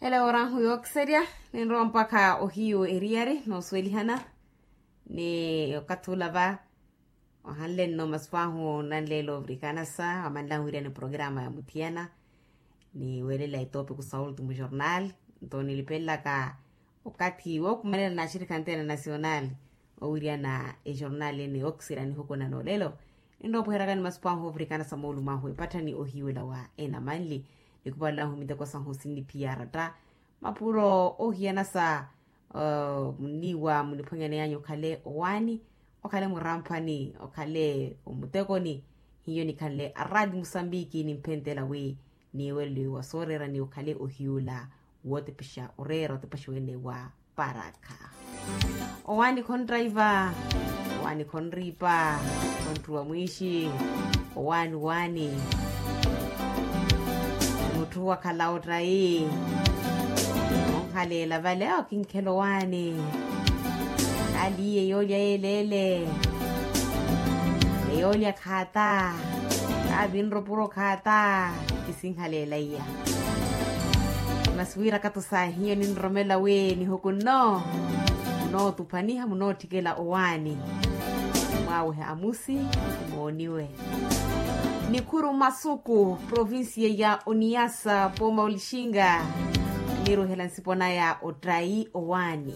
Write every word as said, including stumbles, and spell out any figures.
Ela woorahu yookiserya, ninrowa mpakha ohiyu eriyari noosuwelihana. Ni okathi ula va ohanle nno masupu ahu nanleela ovirikanasa wamanlahu wiriya ni programa ya muthiyana, ni weelela etopiku sa ultimo jornal. Nto nilipelelaka okathi wookumanela na axirikha anteena nasional owiriyana ejornal ene yookiserya nihuku na noolelo. Ninrowa opuheryaka ni masupu ahu ovirikanasa moolumo ahu epattha ni ohiwela wa enamanli. Nikhupalahu miteko sahu sinniphiyaratta mapuro oohiyana sa munniiwa muniphwanyaneyanyu okhale owaani, okhale muramphani, okhale omutekoni. Hiyo nikhanle araati musambiki nimphenttela wi niiweleliwe wa sooreera ni okhale ohiyula wootepexa oreera otepexa wene wa parakha. Owaani khonttaiva, owaani khonriipa, khontthuwa mwiixi, owaani owaani. Mutthu wakhala ottayi onhaleela vale awo kinkhela owaani. Aliye yoolya yeeleele, eyoolya khaata, kaavinropuro khaata. Kisinhaleela iya. Masi wiirakatu sa hiyo ninroromela wi nihuku nno munootuphaniha munootthikela owaani. Mwaawehe amusi, mooniwe. Nikhuru masuku provincia ya oniyasa pooma olixinga. Niiruhela nsipo naya ottayi owaani.